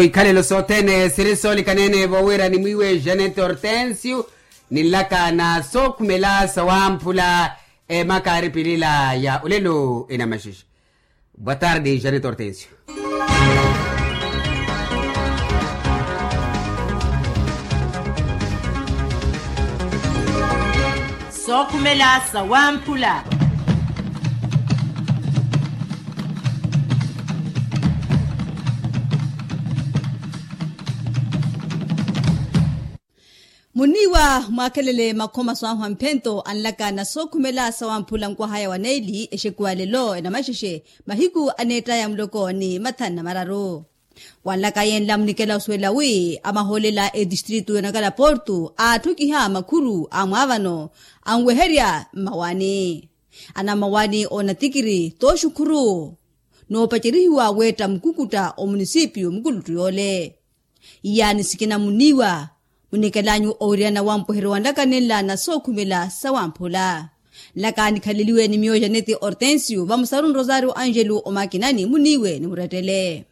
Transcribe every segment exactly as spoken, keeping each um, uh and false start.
Ikhalelo sothene siri soolikanene vo wira ni mwiiwe janete hortensio, ni nlaka na sookhumela sawamphula. Emaka aripilila ya olelo enamaxixa. Boa tarde janete hortensio. Sookhumela sawamphula. Muniiwa mwakhelele makhoma swaahu a mphento anlaka na sookhumela sawamphula nkwahaya wa neeli exekuwa lelo enamaxexe, mahiku aneettaya muloko ni mathanu na mararu. Wanlaka yenla munikela osuwela wi amahoolela etistritu yonakala portu aatthukiha makhuru a mwaavano anweherya mmawani, anamawani oonatikiri tooxukhuru noopacerihiwa weetta mukukutta omunisipiyu mukuluttu yoole. Iyaani sikina muniiwa munikelanyu owiriyana wampuheryo wa nlaka nenla na sookhumela sawamphula. Nlaka nikhaleliwe ni miyo janeti hortensio vamusaru nrosario angelu omakinani muniiwe ni murettele.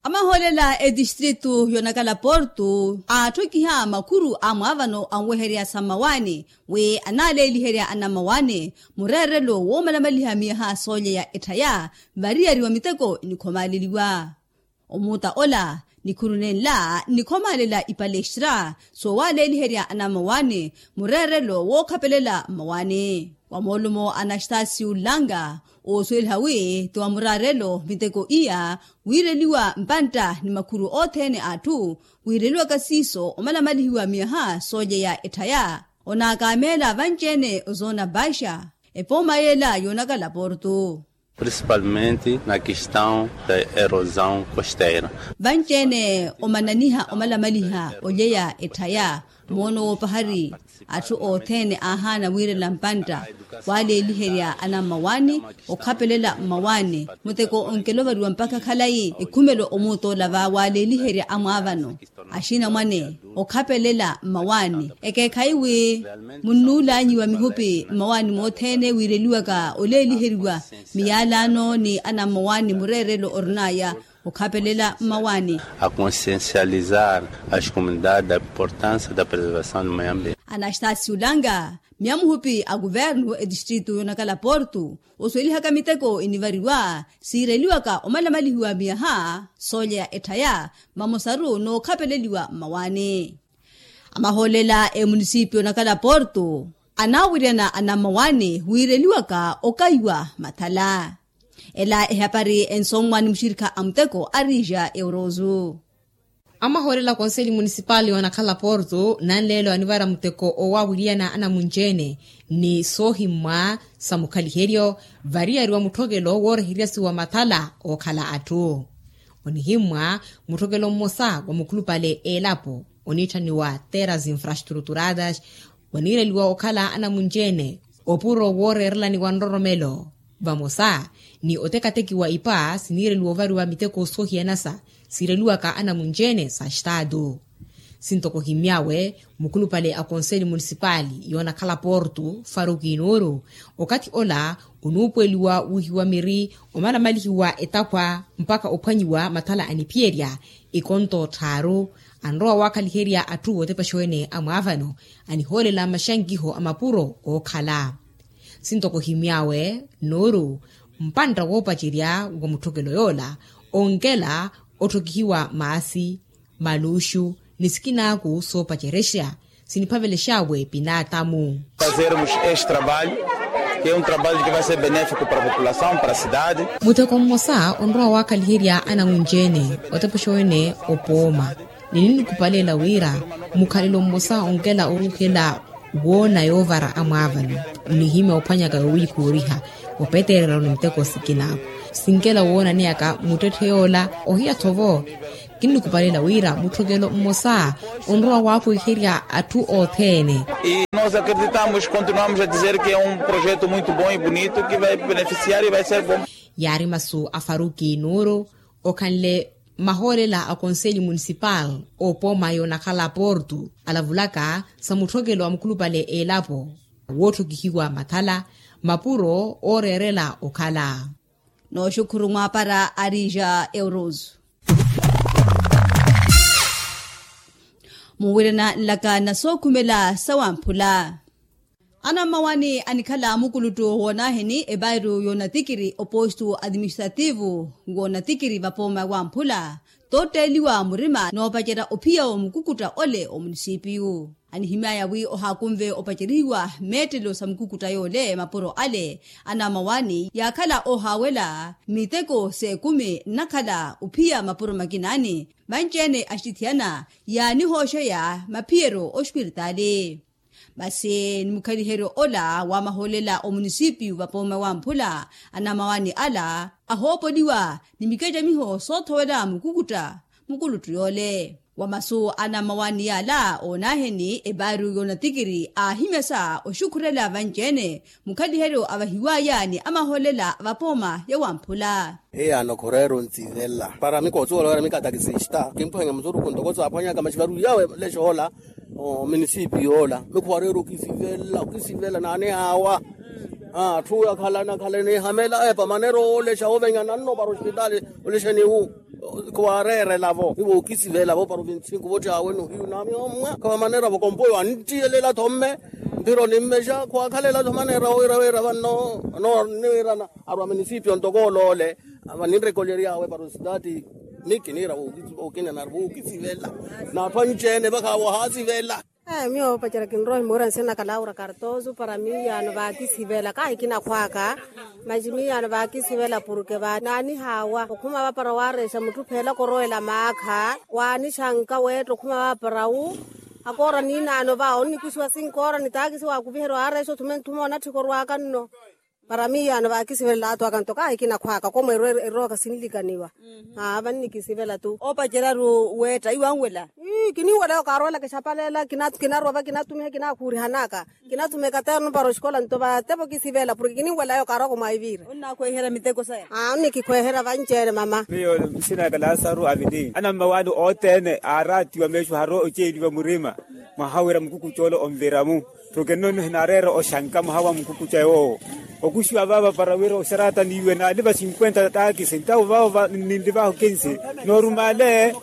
Amahoolela etistritu yonakala portu aatthokiha makhuru a mwaavano anweherya sa mmawaani wi anaaleeliherya anammawaani mureerelo woomalamaliha miyaha soolyeya etthaya variyari wa miteko enikhomaaleliwa. Omuutta ola nikhuru nenla nikhomaalela ipalestra soowaaleeliherya anammawaani mureerelo wookhapelela mmawaani. Wa moolumo anastasiu langa oosuweliha wi ti wa muraarelo miteko iya wiireliwa mpantta ni makhuru othene a atthu wiireliwaka siiso omalamalihiwa miyaha soolyeya etthaya onaakameela vanci-ene ozoona baixa epooma yeela yoonakala portu. Principalmente na questão da erosão costeira. Vanci-ene omananiha omalamaliha olyeya etthaya moono woopahari atthu othene aahaana wiirela mpantta waaleeliherya anammawaani okhapelela mmawaani muteko onkelovariwa mpakha khalayi ekhumelo omuutola va waaleeliherya amwaavano axinamwane okhapelela mmawaani ekeekhayi wi munnuulanyiwa mihupi mmawaani mothene wiireliwaka oleeliheriwa miyaalaano ni anammawaani mureerelo orinaya okhapelela mmawaani. A consciencializar as comunidades da importância da preservação do meio ambiente. Anastasiu langa miyamuhupi a kuvernu etistritu yonakala portu osuwelihaka miteko enivariwa siireliwaka omalamalihiwa miyaha soolyeya etthaya vamosaru nookhapeleliwa mmawaani. Amahoolela emunisipiyo onakala portu anaawiriyana anammawaani wiireliwaka okaiwa mathala. Ela ehapari ensomwa ni muxirikha a muteko a rija eurozu. Amahoolela konseli munisipali onakhala portu nanleelo anivara muteko owaawiriyana anamunci-ene ni soohimmwa sa mukhaliheryo variyari wa mutthokelo wooreheryasiwa mathala ookhala atthu. Onihimmwa mutthokelo mmosa wa mukhulupale elapo oniitthaniwa terras infrastruturadas waniireliwa okhala anamunci-ene opuro wooreerelani wa nroromelo vamosa ni otekatekiwa ipa siniireliwa ovariwa miteko soohiyanasa siireliwaka anamunci-ene sa estatu. Sintoko ohimy'awe mukhulupale a konseli munisipali yoonakhala portu faruki nuuru okathi ola onuupuweliwa wihiwa miri omalamalihiwa etaphwa mpakha ophwanyiwa mathala aniphiyerya ikonto otthaaru anrowa waakhaliherya atthu otepexa-ene a mwaavano anihoolela maxankiho a mapuro ookhala. Sintoko ohimy'awe nuuru mpantta woopacerya wa mutthokelo yoola onkela otthokihiwa maasi maluxu ni sikinaaku soopacerexa siniphavelex'awe pinaatamu. Fazermos este trabalho que é um trabalho que vai ser benéfico para a população para a cidade. Muteko mmosa onrowa waakhaliherya anamunci-ene otepexa-ene opooma ni ninikupalela wira mukhalelo mmosa onkela oruuhela woona yoovara amwaavano nihimya ophwanyaka yowiikooriha opetererya ni miteko sikinaaku sinkela woonaneyaka muttetthe yoola ohiya-tho vo. Kinnikupalela wira mutthokelo mmosa onrowa waapwiherya atthu othene. E nós acreditamos continuamos a dizer que é um projeto muito bom e bonito que vai beneficiar e vai ser bom. Yaari masu a faruki nuuru okhanle mahoolela a konseli munisipal oopoma yoonakhala portu alavulaka sa mutthokelo wa mukhulupale elapo Wootthokihiwa makhala mapuro ooreerela okhala. Nooxukhuru mwaapara arija euros. Muwirana nlaka na sookhumela sawamphula. Anammawaani anikhala mukuluttu woonaaheni epairu yoonatikiri opostu atiministrativu woonatikiri vapooma wamphula, tootteeliwa murima noopacerya ophiya wa mukukutta ole omunisipiyu. Anihimyaya wi ohaakunve opacerihiwa meettelo sa mukukutta yoole mapuro ale. Anammawaani yaakhala oohaawela miteko s'ekumi nnakhala ophiya mapuro makinaani. Vanci-ene axitithiyana yaanihooxeya maphiyeryo ospiritaali. Masi ni mukhaliheryo ola wa mahoolela omunisipiyu vapooma wamphula, anammawaani ala ahoopoliwa ni mikacamiho soothowela mukukutta mukuluttu yoole. Wa masu anammawaani yaala oonaaheni epaaru yoonatikiri aahimyasa oxukhurela vanci-ene mukhaliheryo avahiwaya ni amahoolela a vapooma ya wamphula. Hiyaano khureera ontsivela para mikootsuwela wira mikatakisista kimphwanya musuruku ntoko saaphwanyaka maxivaru yawe lexoola. Ominisipi yoola mikhuwareera okisivela okisivela naanihaawa. Atthu akhalana akhalana ehamela epa manera oolexa ovenyana nno para ospitali. Olexeni wu khuwareerela-vo iwo okisivela-vo para ovintsinku vottyawe nohiyu nami ommwa khawa manera-vo kompoyo anttiyelela-tho mme. Mphiro nimmexa khuwakhalela-tho manera wira wira vanno. Niwirana arwa munisipio ntoko oloole. Vaninrekolery'awe para ositaati. Ni kiniira wookina nari wookisivela n'atthu anci-ene vakhawo ohaasivela. Miyo opacerya kinrowa ohimuwira nsina naka laura kartoso para miyaano vaakisivela kaahi kinakhwaaka. Masi miyaano vaakisivela porke vaananihaawa okhuma vapara waarexa mutthu pheela korowela maakha waanixanka weetta okhuma vapara wu. Akoora niinaano va onnikuxiwa sinkoora ni taakisi waakuviherya waarexa othume nthume onatthika orwaaka nno. Para miyaano vaakisivelela athu aka nto kaahi kinakhwaaka komweerwa erooka sinlikaniwa. Aa vannikisivela-tu. Oopacerya-ru weetta iwo anwela. Ii kininwela yookarowelaka exapaleela kinarwa va kinatumiha kinakhuurihanaka. Kinatumiha ekaterno para oxikola nto vatepa okisivela porke kininwela yookarowaka omwaiviira. Onnakhweherya miteko saya. Aa onnikikhweherya vanci-ene mama. Miyo nsina naka lasaru avili anammawaani othene aaraatiwa meexo haro oceeliwa murima. Mwaha wira mukukuttyoolo onvira-mu. Tho kinno nihinareera oxanka mwaha wa mukukutta yoowo. Okuxiwa vaava para wira oxarata niiwe naaliva cinkwenta taakisi ntawo vaavo ninli vaahu kinsi. Noorumale.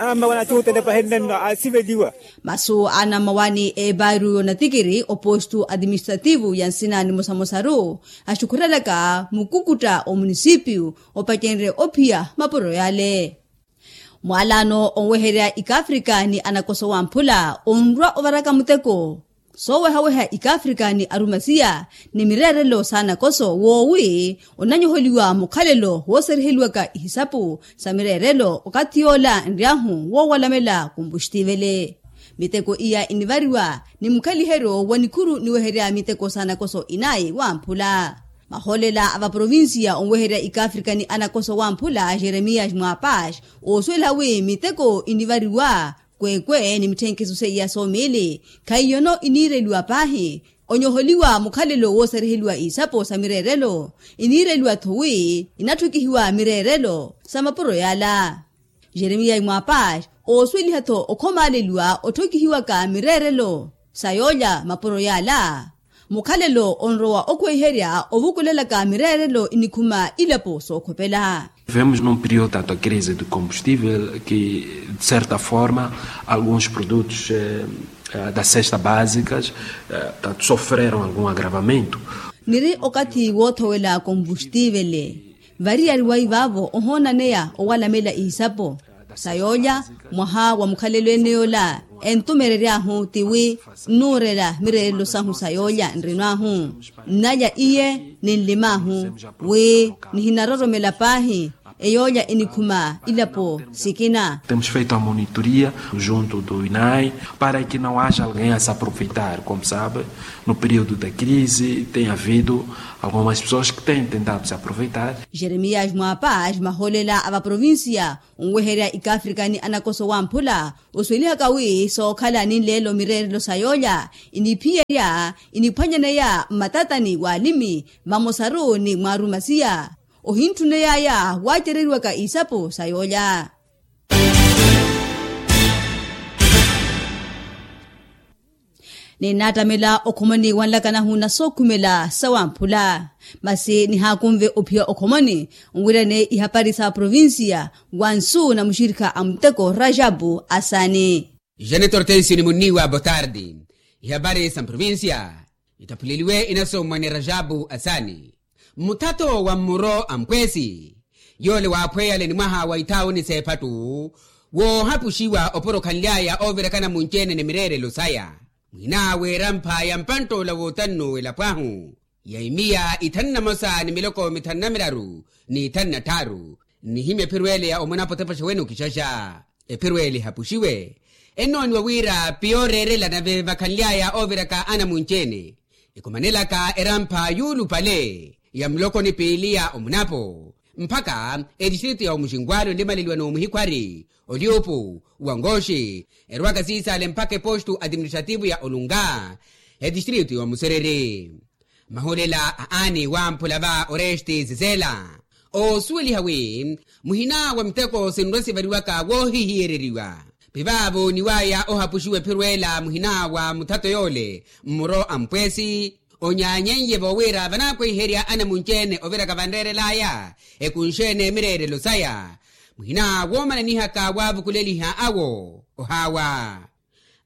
Anammawaani attuutele pahenle nno aasiveliwa. Masu anammawaani epaaru yoonatikiri opostu atiministrativu ya nsina nimosamosaru axukhurelaka mukukutta omunisipiyu opacenrye ophiya mapuro yale. Mwaalaano onweherya ikafrika ni anakoso wamphula onrwa ovaraka muteko. Soowehaweha ikafrika ni arumasiya ni mireerelo s'anakoso woowi onanyoholiwa mukhalelo wooseriheliwaka ihisapu sa mireerelo okathi yoola nry'ahu woowalamela kompuxtivele. Miteko iya inivariwa ni mukhaliheryo wa nikhuru niweherya miteko s'anakoso inayi wamphula. Mahoolela a vaprovinsiya onweherya ikafrika ni anakoso wamphula jeremias mwapax oosuweliha wi miteko inivariwa kwekwe ni mitthenkiso seiya soomiili khaiyono iniireliwa paahi. Onyoholiwa mukhalelo wooseriheliwa isapo sa mireerelo iniireliwa-tho wi inatthokihiwa mireerelo sa mapuro yaala. Jeremiya imwapax oosuweliha-tho okhomaaleliwa otthokihiwaka mireerelo sa yoolya mapuro yaala. Mukhalelo onrowa okhweiherya ovukulelaka mireerelo inikhuma ilapo sookhopela. Vivemos num período tanto a crise de combustível que de certa forma alguns produtos da cesta básicas sofreram algum agravamento. Niri okathi woothowela komvustivele variyari waivaavo ohoonaneya owalamela ihisapo sa yoolya mwaha wa mukhalelo ene yoola entumerery'ahu tiwi nnuurela mireerelo sahu sa yoolya nrinw'ahu nnalya iye ninlim'ahu wi nihinaroromela paahi eyoolya inikhuma ilapo sikina. Temos feito a monitoria junto do inai para que não haja alguém a se aproveitar como sabe no período da crise tem havido algumas pessoas que têm tentado se aproveitar. Jeremias mwapax mahoolela a vaprovinsiya onweherya ikafrika ni anakoso wamphula osuwelihaka wi sookhala ni nleelo mireerelo sa yoolya iniphiyerya iniphwanyaneya mmatatani w'alimi vamosaru ni mwaarumasiya ohintthuneyaya waacereriwaka isapo sa yoolya. Ninattamela okhomoni wanlakanahu na sookhumela sawamphula. Masi nihaakunve ophiya okhomoni nwirane ihapari sa provincia, wa nsu na muxirikha a muteko rajabu asani. Janet hortensio ni munniwa botardi. Ihapari sa mprovincia, ittaphuleliwe inasomwa ni rajabu asani. Muthato wa mmuro a mpweesi, yoole waaphweyale ni mwaha wa ithaawuni s'ephattu, woohapuxiwa opuro okhanly'aya oovirakana munci-ene ni mireerelo saya. Muhin'awe erampha ya mpantt'ola wootannuwa elapw'ahu, ya imiya ithanu na mosa ni miloko mithanu na miraru, ni ithanu na tthaaru. Nnihimya ephiro ele ya omunapo otepaxa wene okixaxa. Ephiro ele ehapuxiwe, ennooniwa wira piyooreerela nave vakhanly'aya ooviraka anamunci-ene, ekhumanelaka erampha yuulupale ya muloko ni piili ya omunapo, mpakha etistritu ya omuxinkwalo enlimaleliwa n'omuhikhwari, olyuupu, wangoxi, erwaka siisale mpakha epostu atiministrativu ya olunga, etistritu ya omusereri. Mahulela a aani wamphula va oresti sisela, oosuweliha wi muhina wa miteko sinrwa-sivariwaka woohihiyereriwa. Pivaavo oniwaya ohapuxiwa ephiro ela muhina wa muthato yoole mmuro a mpweesi, onyaanyen'ye voowira vanaakweiherya anamunci-ene oviraka vanreerel'aya, ekunxe-ene mireerelo saya, muhina woomananihaka waavukuleliha awo ohaawa.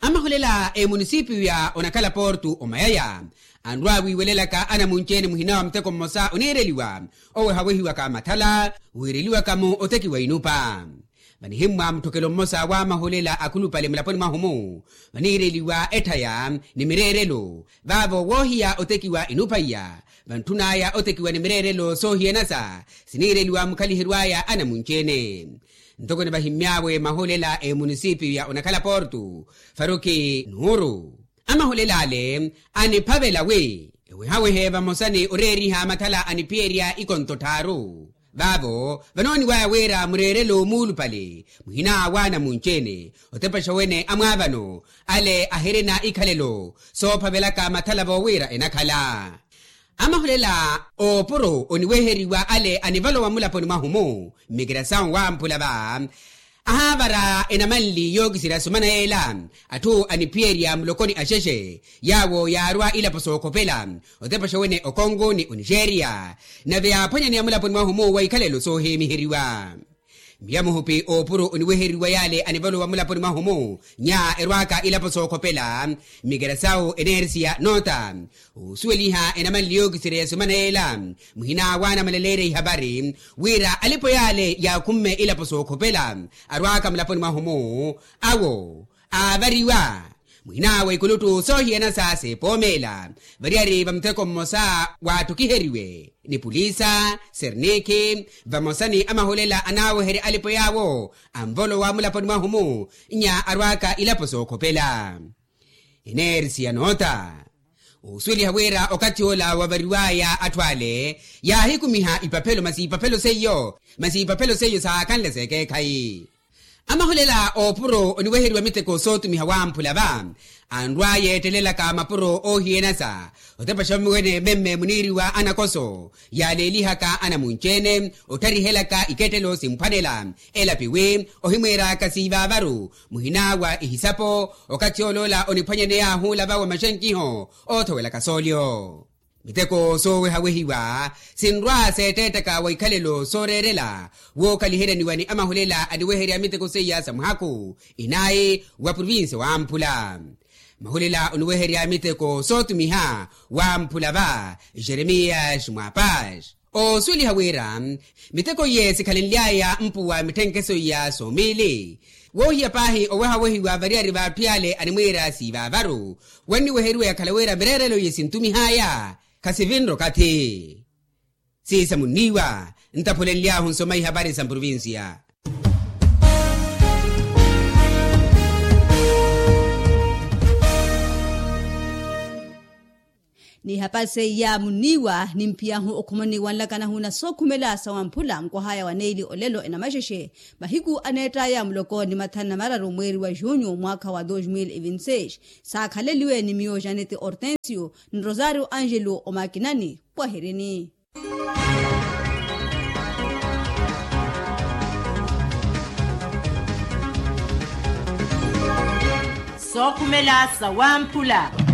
Amahulela a emunisipiyu ya onakhala portu omayaya, anrwa wiiwelelaka anamunci-ene muhina wa muteko mmosa oniireliwa, owo ehawehiwaka mathala, wiireliwaka-mo otekiwa inupa. Vanihimmwa mutthokelo mmosa w'amahulela akhulupale mulaponi mwahu-mu, vaniireliwa etthaya ni mireerelo, vaavo woohiya otekiwa inupa iya, vantthun'aya otekiwa ni mireerelo soohiyanasa siniireliwa mukhaliheryo aya anamunci-ene. Ntoko nivahimmy'awe mahulela a emunisipiyu ya onakhala portu, faruki nuuru. Amahulela ale aniphavela wi ewehawehe vamosa ni oreeriha mathala aniphiyerya ikonto tthaaru. Vaavo vanooniwaya wira mureerelo muulupale muhina w'anamunci-ene, otepaxa wene amwaavano ale ahirina ikhalelo soophavelaka mathala voowira enakhala. Amahulela oopuro oniweheriwa ale anivalowa mulaponi mwahu-mu, mmikirasawu wamphula va, ahaavara enamanli yookiserya sumana yeela atthu aniphiyerya mulokoni axexe, yaawo yaarwa ilapo sookhopela otepaxa wene okongo ni onixeriya, nave yaaphwanyaneya mulaponi mwahu-mu wa ikhalelo soohiimiheriwa. Miya muhupi oopuro oniweheriwa yaale anivalowa mulaponi mwahu-mu, nya erwaaka ilapo sookhopela, mmikirasawu enersiya noota, oosuweliha enamanli yookiserya ya sumana yeela muhina w'anamaleleerya ihapari, wira alipo yaale yaakhumme ilapo sookhopela arwaaka mulaponi mwahu-mu, awo aavariwa. Muhina w'ekuluttu soohiyanasa seepoomeela variyari va muteko mmosa waattukiheriwe ni pulisa, sernikhi, vamosa ni amahulela anaaweherya alipo yaawo anvolowa mulaponi mwahu-mu, nya arwaaka ilapo sookhopela. Enersiya noota, oosuweliha wira okathi ola wavariw'aya atthu ale yaahikumiha ipaphelo masi ipaphelo seiyo masi ipaphelo seiyo saakhanle s'ekeekhayi. Amahulela oopuro oniweheriwa miteko sootumiha wamphula va, anrwa yeettelelaka mapuro oohiyanasa otepaxa wene memme muniiriwa anakoso yaaleelihaka anamunci-ene, ottharihelaka ikettelo simphwanela elapi wi ohimwiiraka siivaavaru muhina wa ihisapo. Okathi oloola oniphwanyaney'ahu olava wa maxenkiho oothowelaka soolyo. Miteko soowehawehiwa sinrwa seettettaka wa ikhalelo sooreerela wookhaliheryaniwa ni amahulela aniweherya miteko seiya sa muhakhu inayi wa provincia wamphula. Mahulela oniweherya miteko sootumiha wamphula va jeremias mwapax, oosuweliha wira miteko iye sikhalenly'aya mpuwa mitthenkeso iya soomiili. Woohiya paahi owehawehiwa variyari v'atthu yaale animwiira siivaavaru, wanniweheriwa yakhala wira mireerelo iye sintumih'aya khasivinre okathi. Siisa munniiwa ntaphulenly'ahu nsoma ihapari sa mprovincia. N'ihapari seiya munniiwa nimphiyahu okhomoni wanlakanahu na sookhumela sa wamphula nkwah'aya wa neili olelo enamaxexe, mahiku aneett'aya muloko ni mathanu na mararu mweeri wa junho mwaakha wa dos mil e vinte seis. Saakhaleliwe ni miyo janet hortensio ni rosario angelo omakinani. Pwahirini. Sookhumela sa wamphula.